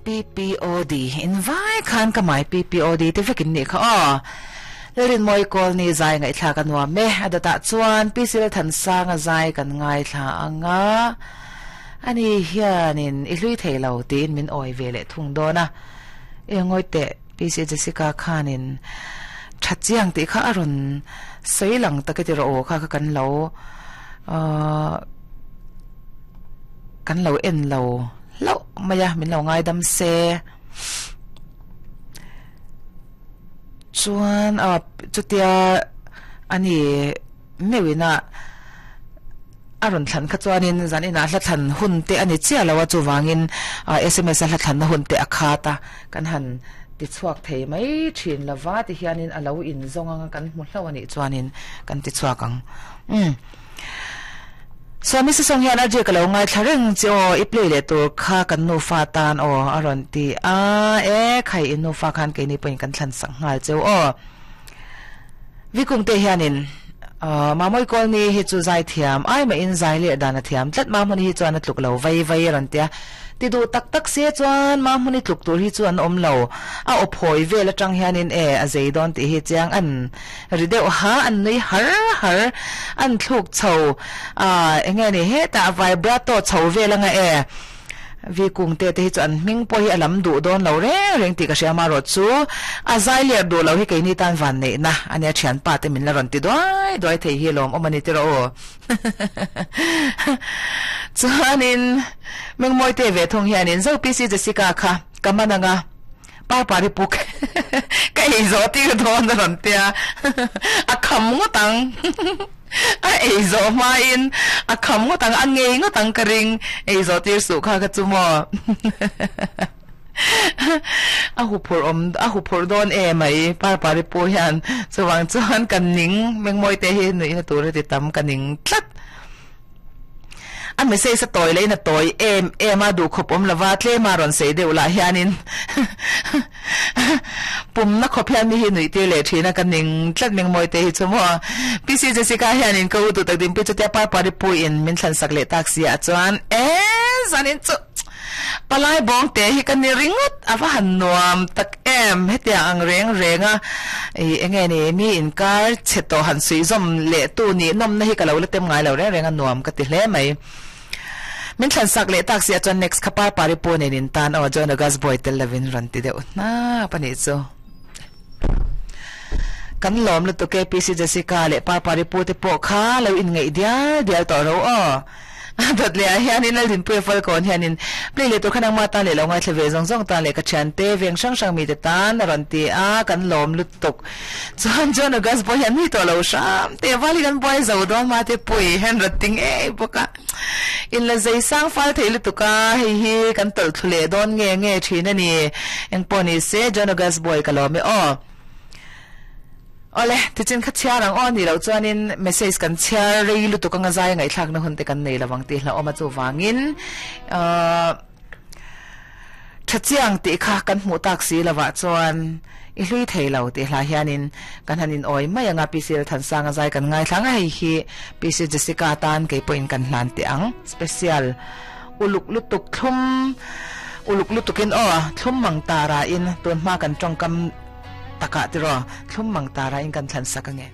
PPOD in vai khan ka mai PPOD te vekin nih kha aw. Lalrinmawi Kawlni zai ngaihthlak a nuam e. A dawtah chuan PC Lalthansanga zai kan ngaithla ang a, ani hianin i hlui thei lo tiin min awi ve leh thung dawn a. E ngawi teh PC Jessica khanin tha chiang tih kha a rawn sawi lang tak e ti rawh aw kha kha kan lo ahh kan lo en lo hlauh mai a min lo ngaidam se. Chuan a chutia ani meuhin a a rawn thlan kha chuanin zan inah hla thlan hun te a ni chiah lo a chuvangin sms a hla thlanna hun te a khat a kan han ti chhuak thei mai thin lova ti hianin a lo in zawng anga kan hmu hlauh a nih chuanin kan ti chhuak ang umm. Swami Sisong hian a ka lo ngaithla reng che aw, i play leh tur kha kan nufa tan aw a rawn ti a, e khai in nufa khan keini pawhin kan thlan sak nghal cheu aw. Vikungte hianin Mamawi Kawlni hi chu zai thiam ai mahin zai leh dan a thiam tlat, Mahmuni hi chuan a tluk lo vai vai a rawn ti a, Ti duh tak tak se chuan Mahmuni tluk tur hi chu an awm lo, a aw phawi vel atang hianin e a zei dawn tih hi chiang an ri deuh ha, an nui har har, an thluk chho a enge ni hetah vibrato chho vel anga e Vi kung te te hi chu an hming pawh hi a lam duh dawn lo reng reng tih ka hria amarawh chu a zai ler duh lo hi keini tan van neihna ania thianpa te min la rawn ti duai duai thei hi lawm awm a ni tiraw aw. Chuanin Mengmawi te ve thung hianin Zo PC Jessica kha ka man anga Parpari puk ka ei zawh tir dawn a rawn tia a kham ngawt ang a ei zawh hmain a kham ngawt ang a ngei ngawt ang ka ring ei zawh tir suh kha kha chu maw. A huphurh awm a huphurh dawn e mai Parpari pu hian chuvang chuan ka ning Mengmawi te hi nuihna tur a ti tam ka ning tlat. A message a tawi leh in a tawi em em a duhkhawp awm lova tlema rawn sei deuh lah hianin pumna khawp hian mi hi nuih tir leh thin a ka ning tlat Mengmawi te hi chu maw. PC Jessica hianin ka u duh tak dinpui chutia Parpari pu in min thlan sak leh tak si ah chuan e zanin chu Palai bawng te hi ka ni ringawt a va han nuam tak em hetiang ang reng reng a ih enge ni mi inkar chhe tawh han suih zawm leh tu nih nawmna hi ka lo la tem ngai lo reng reng a nuam ka ti hle mai. Min thlan sak leh tak si ah chuan next kha Parpari pu nen in tan aw John August boy tel lovin rawn ti deuh hnap a nih chu. Kan lawm lutuk e PC Jessica leh Parpari pu te pawh kha lo inngeih dial dial tawh ro aw. A dawt leh ah hianin Laldinpuia Falkawn hianin play leh tur kha nangmah tan leh lo ngaithla ve zawng zawng tan leh ka thiante veng hrang hrang mite tan a rawn ti a, kan lawm lutuk. Chuan John August pawh hian mi tawh lo hram teh val hi kan buai zo dawn hma te pui hian rawn ti ngei bawk a. In la zei sang fal thei lutuk a, hei hi kan tawlh thlu leh dawn nge nge thin a ni. Engpawh ni se John August boy ka lawm e aw. Awle, tichin kha chhiar ang aw nih loh chuanin message kan chhiar rei lutuk anga zai ngaihthlakna hun te kan nei lovang tih hlauhawm a chuvangin ahh tha chiang tih kha kan hmuh tak si lovah chuan i hlui thei lo tih hla hianin kan han in awi mai anga PC Lalthansanga zai kan ngaithla ang a hei hi PC Jessica tan kei pawhin kan hlan teh ang special uluk lutuk thlum uluk lutukin aw thlum mang tara in tun hma kan tawngkam Takah tiraw, thlum mang tara in kan thlan sak ange.